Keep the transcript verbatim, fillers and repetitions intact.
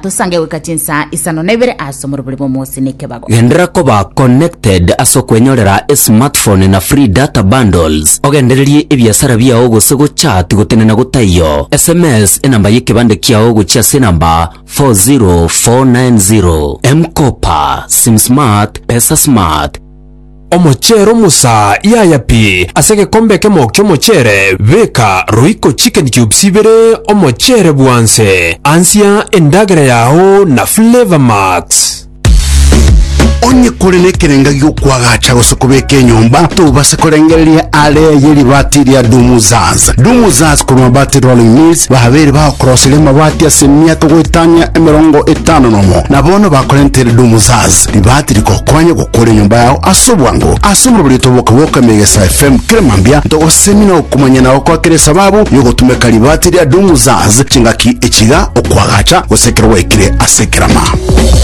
Tosange goika chinsa isano na ibere ase omorobori bw'omosi na ekebago. Gendera koba connected ase okwenyorera esmartphone na free data bundles. Ogendererie ebiasara biao gose gochat gotenena gotaiyo. S M S enamba y'ekebande kiao gochia ase enamba four zero four nine zero. M-Kopa, Sim Smart, Pesa Smart. Omochere omusa yaya pi ase egekombe ekemo ki'omochere beka Royco Chicken Cubes ibere omochere bwanse ansia endagera yao na Flavor Max. Onye kore nekerenga giokwagacha gose kobeka enyomba tobase korengereria are ye ribati ria Dumuzaz. Dumuzaz korwa Mabati Rolling Mills babere bagokoroseria amabati ase emiaka goetania emerongo etano nomo na bono bakorentere Dumuzaz ribati rikokonya gokora enyomba yao ase obwango. Ase omorobori toboka Megesa F M keremambia ntogosemi na okomanya nao kwakere sababu yogotumeka ribati ria Dumuzaz chingaki echiga okwagacha gose ekero gwaikire ase ekerama.